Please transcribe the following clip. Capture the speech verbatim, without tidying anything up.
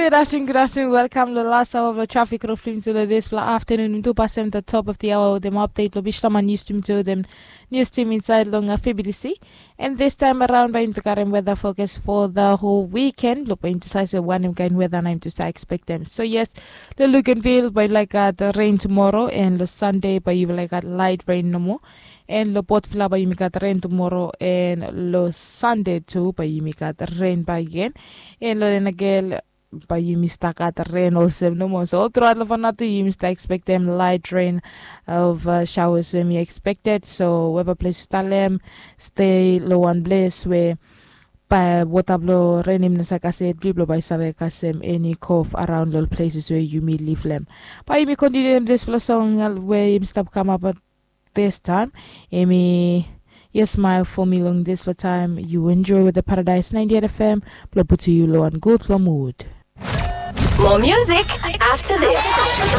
Good afternoon, good afternoon. Welcome to the last hour of the traffic rough lim to this afternoon. Two percent the top of the hour with them update. Lo bishla man used to me to them news team inside long F B D C. And this time around, by him to carry weather focus for the whole weekend. Lo by him to say one him kind weather and him to start expect them. So yes, lo Luganville by like uh, the rain tomorrow and lo Sunday by you like uh, light rain no more. And lo Port Vila by you got rain tomorrow and lo Sunday too by you got rain by again. And lo Lenagel by you mista got rain also no more. So throughout lo Vanuatu you mista expect them light rain of uh, showers when you expected. So whoever place talem stay lo one place where by wota blo renim na saka se bli blo by save kasem any kof around lo places where you may live lem. By you may continue them this flow song uh, where you stop come up at this time. Emi, yes, smile for me long this flow time. You enjoy with the Paradise ninety-eight F M. Blo put you lo and good flow mood. More music after this.